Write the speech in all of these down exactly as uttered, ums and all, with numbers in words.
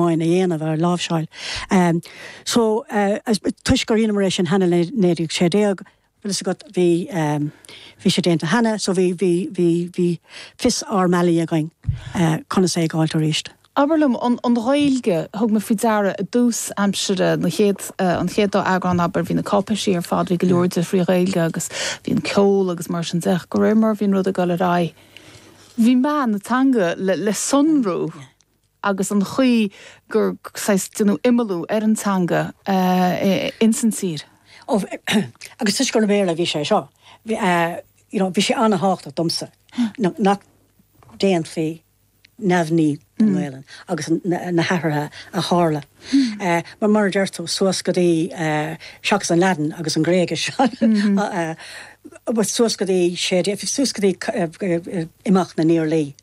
amháin a dhéanamh ar láimhseáil. Um, so uh, toisc gur rinneamar é sin cheana naoi déag sé déag, bhfuil agat bhí um, bhí sé déanta cheana, so bhí bhí bhí bhí fios ár mbealaí againn uh, conas é gáil arís. Abair liom an an Ghaeilge thug mé faoi deara i dtús aimsire na chéad uh, an chéad dá eagrán abair bhí na cáipéisí ar fad bhí go leor de trí Ghaeilge agus bhí an ceol agus mar sin de go réir mar bhí rud ag dul ar aghaidh. Bhí meath na teanga le, le sonrú agus an chaoi gur déanadh imeallú ar an teanga uh, insan tír. Oh, agus tuis gur Béarla bhí sé seo. Bhí uh, you know, bhí sé an-tábhachtach domsa nach ndéanfaí neamhní den Ghaelainn agus na, na hathruithe a tharla. Mm. Uh, mar mar deir tú suas go dtí uh, seachas an Laidin agus an Ghréigis mm -hmm. uh, suas go dtí sé suas go dtí uh, imeacht na nIarlaí.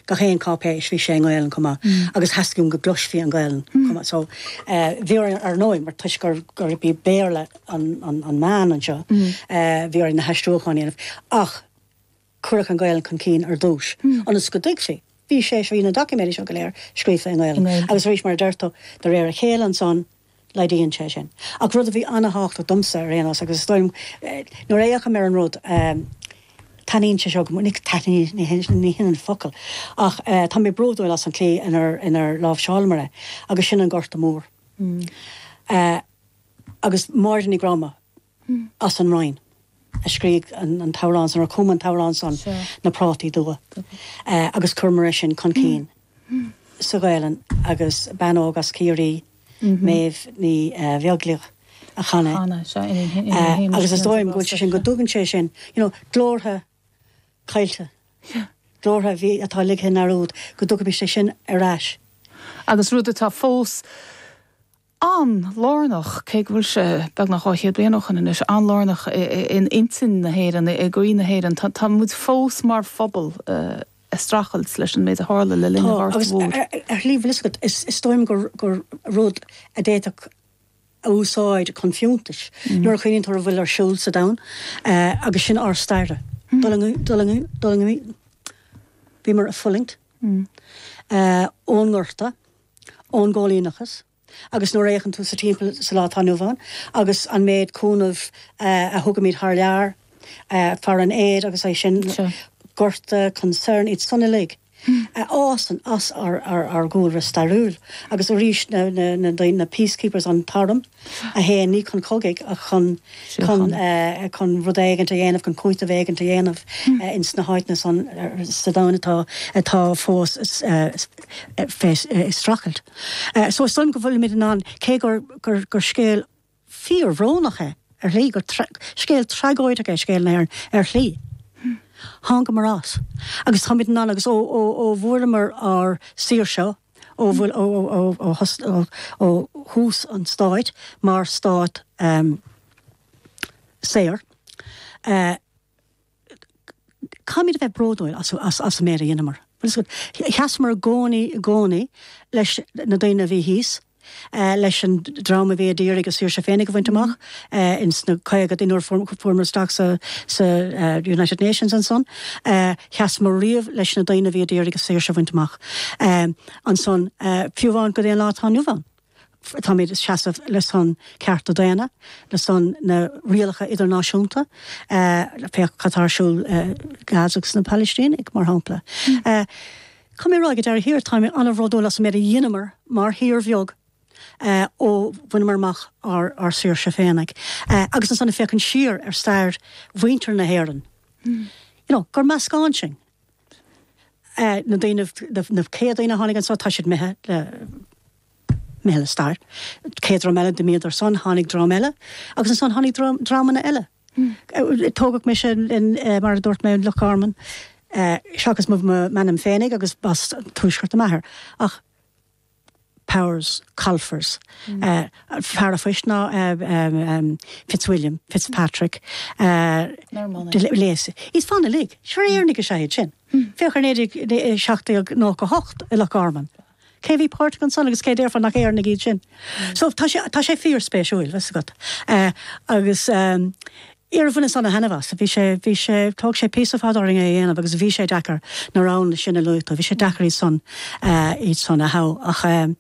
Gach aon cháipéis bhí sé i nGaelainn chomh maith mm. agus theastaigh go gcloisfí an Ghaelainn mm. chomh maith so uh, bhí ar ndóigh mar toisc gur gur bhí Béarla an, an, an meán anseo mm. uh, bhí ar na haistriúcháin ach cuireadh an Ghaelainn chun cinn ar dtús mm. ionas go dtuigfí. Bhí sé bhí na doiciméid seo go léir scríofa i nGaelainn. Agus arís mar deir tú de réir a chéile ansan laghdaíonn sé sin. Ach rud a bhí an-tábhachtach domsa ar aon nós agus nuair a fhéachaim ar an rud um, taitníonn sé seo go ní ní hin an focal. Ach uh, tá mé bródúil as an tslí inar inar láimhseálamar é agus sin an Gorta Mór. Mm. Uh, agus Máire Ní Ghráma mm. as an Rinn. a scríobh an, an t-amhrán san ar chum an t-amhrán san sure. na prátaí dubha. Uh, agus chuireamar sin chun cinn mm. sa Ghaelainn agus bean óg as Ciarraí mm -hmm. Méabh Ní uh, Bheaglaoich a chan é. Uh, agus is dóigh go sin go dtugann sé sin you know, glórtha caillte. Glórtha bhí atá ligthe i ndearúd go dtugann sé sin ar ais. Agus rud atá fós an-lárnach cé go bhfuil sé beagnach dhá chéad bliain ó shin anois an-lárnach in intinn na hÉireann i gcroí na hÉireann Tá muid fós mar phobal uh, ag streachailt leis an méid a tharla le linn agus ar shlí is is dóigh gur gur rud a d'fhéadfadh a úsáid chun fiúntais. Mm. Nuair a chuimhníonn tú ar a bhfuil ar siúl sa domhan uh, agus sin ár stair. Mm. Bhíomar ag fulaingt mm. uh, ón nGorta, ón gcoilíneachas, agus nuair a fhéachann tú sa timpeall sa lá atá inniu ann, agus an méid cúnamh uh, a thugaimid thar lear, uh, fear an éad agus é sin sure. Gorta concern iad san uilig. Fhásann as ár ár gcúlra stairiúil, agus arís na, na, na, na peacekeepers an t-arm a théann ní chun cogaidh a chun chun uh, chun rud éigin a dhéanamh chun cúiteamh éigin a dhéanamh mm. uh, ins na háiteanna san sa domhan atá atá fós uh, ag streachailt. Uh, so is dóigh go bhfuilimid in ann cé gur, gur, gur scéal fíorbhrónach é ar shlí gur scéal tragóideach é scéal na ar shlí. Thángamar as. Agus táimid in ann agus ó ó bhfuaireamar ár saoirse ó bhfuil ó thús an stáit mar stát um, saor. Uh, Caithfimid a bheith bródúil as, as, as an méid a rinneamar. Sheasamar i gcónaí i gcónaí leis na daoine a bhí thíos, Uh, leis an dream a bhí ag iarraidh a saoirse féinig a bhaint amach uh, ins na caogaidí nuair fuaireamar isteach sa, sa uh, United Nations ansan. Uh, Sheasamar riamh leis na daoine a bhí ag iarraidh a saoirse a bhaint amach. Um, ansan uh, fiú amháin go dtí an lá atá inniu ann. Táimid seasamh le son cearta daonna, le son na rialacha idirnáisiúnta, uh, féach cad atá ar siúl uh, Gaza agus na Palaistínigh mar shampla. Mm. Uh, Tá mé rá go deir thiar tá an-bhródúil as an méid a rinneamar mar thír bheag uh, ó bhaineamar amach ár, ár saoirse féinig. Uh, agus ansan féachaint siar ar stair mhuintir na hÉireann. Mm. You know, gur meascán sin. Uh, na daoine na céad daoine tháinig anseo tá siad imithe le imithe le stair. Céad dream eile d'imíodar san tháinig dream eile, agus ansan tháinig dreamanna eile. Mm. Tógadh mise in, uh, mar a dúirt mé Loch Garman, uh, seachas m'ainm féinig agus b'as tuaisceart m'athair. Ach Powers, Colfers, mm. uh, fear an phoist ná uh, um, um, Fitzwilliam, Fitzpatrick, uh, Lacey. Is fan uilig, sure Éireannaigh is ea sin. Mm. Féach ar naoi seacht déag nócha hocht i Loch Garman. Cé bhí páirteach ansan agus cé déarfá nach Éireannaigh iad sin. Mm. So tá sé tá sé fíorspéisiúil bheith agat. Uh, agus um, Iar bhain an henhas, bhí sé bhí sé thóg sé píosa fada orainn é dhéanamh agus bhí sé deacair na roghanna sin a luaigh tú, bhí sé deacair iad san iad san a thoghadh ach um,